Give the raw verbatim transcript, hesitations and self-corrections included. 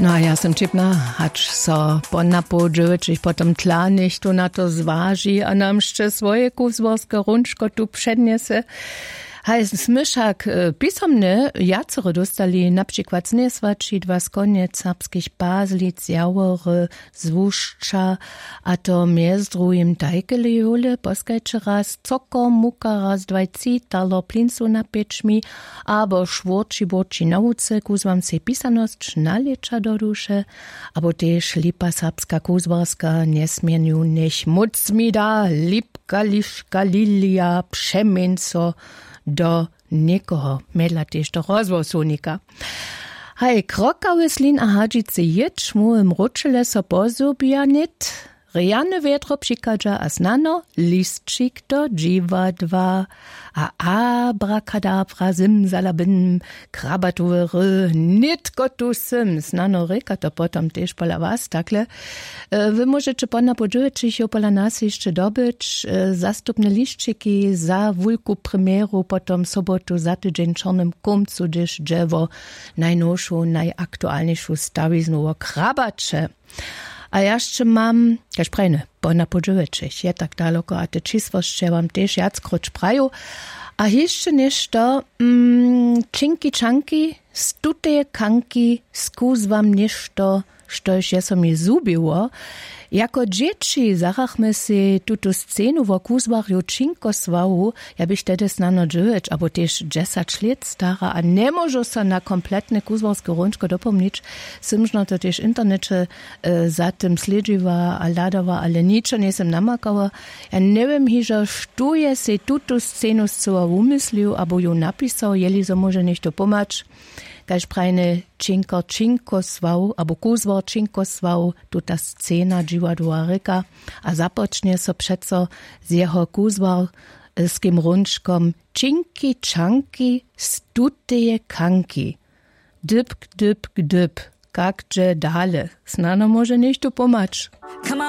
No a ja sym ćipna, hač so po napoł dźewjećich potom tla něchtó na to zwaži a nam sće swoje kuzłarske hrónčko tu přednjese. Haj, smy wšak pisomnje wjacore dóstali, na přikład z njeswaći, dwa z konjec, serbskich pazlic, jawory, z łušća, a to mjez druhim tajkele jowle poskajće raz cokor muka, raz dwaj citalo plinsow na pječmi, abo šwórći bórći na łuce kuzłam sej pisanosć na lěća do duše, abo tež lipa serbska kuzłarska njesměnju njech móc mi da lipka liška lilija přeměnco do někoho, mjedla tež do rozhłosownika. Haj, krokawy slin a hadźicy jětš móhłym wróćele so pozhubja nět. Rjane wjetro přichadźa a snano lisćik do dźiwadła. A abrakadabra zymzalabym, krabatowy ry, nětko tu sym, snano rěka to potom tež pola was takle. Wy móžeće po napoł dźewjećich jow pola nas hišće dobyć zastupne lisćiki za wulku premjeru potom sobotu za tydźeń w čornym kómcu hdyž dźe wo najnowšu najaktualnišu stawiznu wo krabaće. A ja sće mam kaž prajne po napoł dźewjećich je tak daloko a te čisłosće wam tež wjackróć praju. A hišće něšto, mm, činki čanki z tuteje kanki skuzłam něšto, štož je so mi zhubiło. Jako dźěći zarachmy sej tutu scenu wo kuzłarju činkosławu. Ja běch tehdy snano dźewjeć abo tež dźesać lět stara a njemóžu so na kompletne kuzłarske hrónčko dopomnić. Sym žno to tež w interneće za tym slědźiła a hladała, ale ničo njejsym namakała. Ja njewěm hižo štó je sej tutu scenu scyła wumyslił abo ju napisał, jeli zo móže něchtó pomhać. Kaž prajne, činkor činkosław abo kuzłar činkosław, tuta scena dźiwadła rěka. A započnje so přeco z jeho kuzłarskim hrónčkom činki čanki z tuteje kanki. Dypk dypk dyp. Kak dźe dale? Snano móže něchtó pomhać.